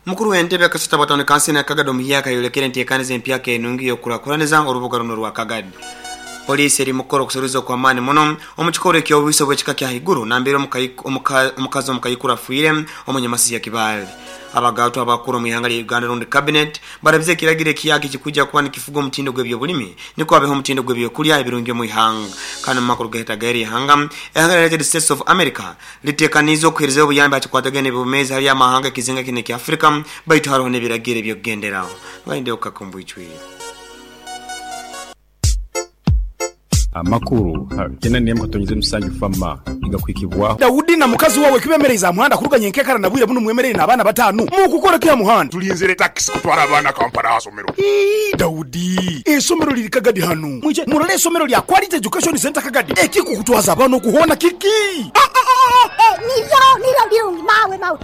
Mukuru w'entebe akasita bwa tawuni kanso ya Kagadi omuhyaka ayolekere enteekaniza empyaka enungi ey'okukurakuraniza orubuga runu orwa Kagadi. Poliisi eri mukukora okuseruliza okw'amaani muno omu kikorwa eky'obwisi obw'ekika kya haiguru nambere omukazi omukaikuru afiire omu Nyamasizi ya Kibaale. Abagaatwa abakuru omu ihanga lya Uganda rundi Cabinet barabize ekiragiro ekiyaka ekikwija kuba nikifuga omutindo gw'ebyobulimi nikwo habeho omutindo gw'ebyokulya ebirungi omu ihanga. Kandi omu makuru gaheta g'eri ihanga, ihanga lya United States of America Litekaniize okuheerezayo obuyambi aha kikwatagaine n'eby'obwomeezi hali amahanga ekizinga kinu ekya Afrika, baitu haroho n'ebiragiro eby'okugenderaho. Ngainde okukaka omu bwijwire. Amakuru kenda n'emu katonyeze musanju Fama nigakuhikibwaho. Daudi na mukazi wawe kibemereize aha muhanda kuruga nyenkekara na bwire bunu mwemereire n'abaana batanu. Mukukora ki aha muhanda? Tulinzire takisi kutwara abaana Kampala aha somero. Ii, Daudi, eisomero liri Kagadi hanu. Mwije murole eisomero lya Quality Education Centre Kagadi. Ekikukutwaza abaana okuhoona kiki? Nibyo, nibyo birungi mawe, mawe.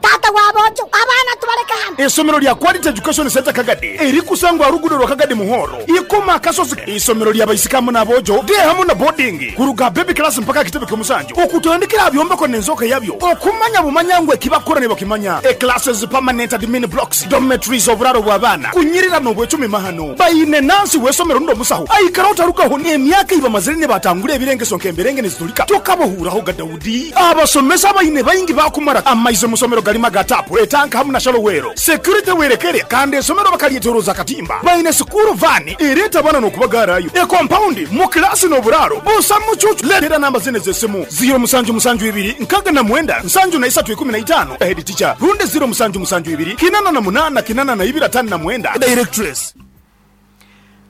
Taata wa boojo, abaana tubaleke hano. Eisomero lya Quality Education Centre Kagadi erikusangwa aha luguudo lwa Kagadi Muhoro, Ikoma Akasozi. Eisomero lya baisiki hamu n'aboojo, day hamu na boarding, kuruga aha baby class mpaka aha kitebe ky'omusanju, okutandikira aha byombeko n'enzooka yabyo, okumanya bumanya ngu ekibakukora nibakimanya. E Classes, permanent admin blocks, dormitories, oburaaro bw'abaana, kunyirira n'obwecumi mahano. Baine nansi w'eisomero rundi omusaho aikara otarugaho n'emyaka ei bamazire nibatangura ebirengeso nk'emberenge nizitulika. Tokabahuuraho ga Daudi. Abasomesa abaine baingi baakumara amaizi omu somero garimu aga taapu, etanka hamu na shallow well. Security werekere kandi eisomero bakaryetoroza akatimba. Baine sikuuru vaani ereeta abaana n'okubagaarayo. Ekompaundi mu kilaasi n'oburaaro busa mucuucu. Leetera namba zinu ez'esimu, ziiro musanju musanju ibiri nkaaga na mwenda nsanju na isatu ikumi na itaano, Head teacher, rundi ziiro musanju musanju ibiri kinana na munaana kinana na ibiri ataano na mwenda, Directress.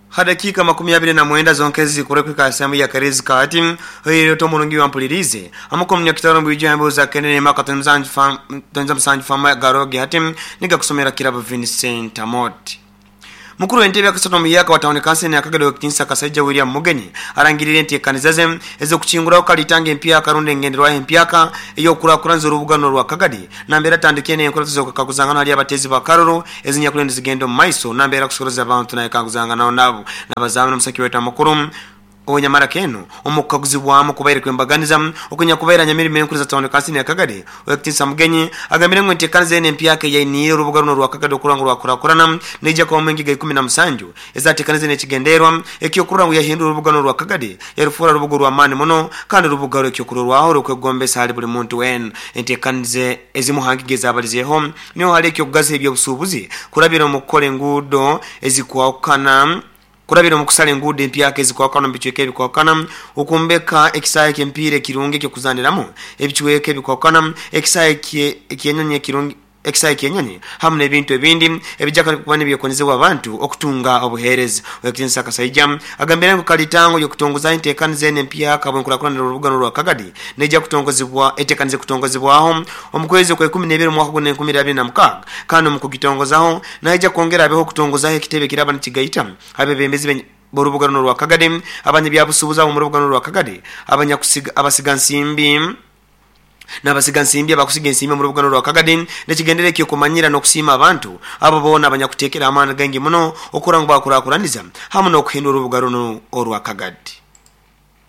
Ha dakiika 29 zonka ezizikura kuhika ha saamu ya Karezi kaati, oihireho oti omurungi wampuliriize, amuka omunyakitara omu bwijwire emboozi za Kende n'emaka 77 Fama Garogi hati nigakusomera Kirabo Vincent Amooti. Mukuru w'entebe akasatu omuhyaka wa Tawuni Kanso eno ya Kagadi Owekitinisa Kasaija William Mugenyi arangiriire enteekaniza ze ez'okukinguraho kalitanga empyaka rundi engenderwaho empyaka ey'okukurakuranza orubuga runo orwa Kagadi nambere atandikire n'enkurato z'okukaguzangana hali abateezi ba karuru ezinyakuriyo nizigenda omu maiso nambere akusoroza abantu nayekaguzanganaho nabo nabazamu n'omusaki waitu amukuru Ow'enyamaraka enu omu kukaguzibwamu kubaire kw'embaganiza okunyakubaire anyamirimo enkuru za Tawuni Kansini ya Kagadi, Owekitiinisa Mugenyi agambire ngu enteekaniza enu empyaka eyainiire orubuga runu orwa Kagadi okurora ngu rwakurakurana neija kubamu engiga 17 ezateekanize n'ekigendererwa eky'okurora ngu yahindura orubuga runu orwa Kagadi yarufoora rubuga orw'amaani muno kandi orubuga rw'ekyokurorwaho orw'okwegombesa hali buli muntu weena. Enteekaniza ezimu ha ngiga ezabalizeeho niho hali eky'okugaziha eby'obusuubuzi kurabira omu kukora enguudo ezikwahukana Kurabira omu kusara enguudo empyaka ezikwahukana omu bicweka ebikwahukana, okwombeka ekisaahe ky'emipiira ekirungi eky'okuzaniramu, ebicweka ebikwahukana, ekisaahe ky'enyonyi ekirungi, ekisaahe ky'enyonyi hamu n'ebintu ebindi ebija kuba nibyekonezebwa abantu okutunga obuheereza. Ow'ekitinisa Kasaija agambire ngu kalitango y'okutongozaho enteekaniza enu empyaka habw'enkurakurana y'orubuga rwa Kagadi neija kutongozibwa eteekanize kutongozibwaho omu kwezi okw'ekumi n'ebiri omwaka guno 2026 kandi omu kugitongozaho Naija kwongera abeho okutongozaho ekitebe ekiraaba nikigaita abebembezi b'orubuga runo orwa Kagadi, abanyabyabusuubuzi ab'omu rubuga runo orwa Kagadi, abasigansimbi n'abasigansimbi abakusiga ensimbi omu rubuga runo orwa Kagadi n'ekigendererwa eky'okumanyira n'okusiima abantu abo boona abanyakuteekera amaani gaingi muno okurora ngu bakurakuraniza hamu n'okuhindura orubuga runu orwa Kagadi.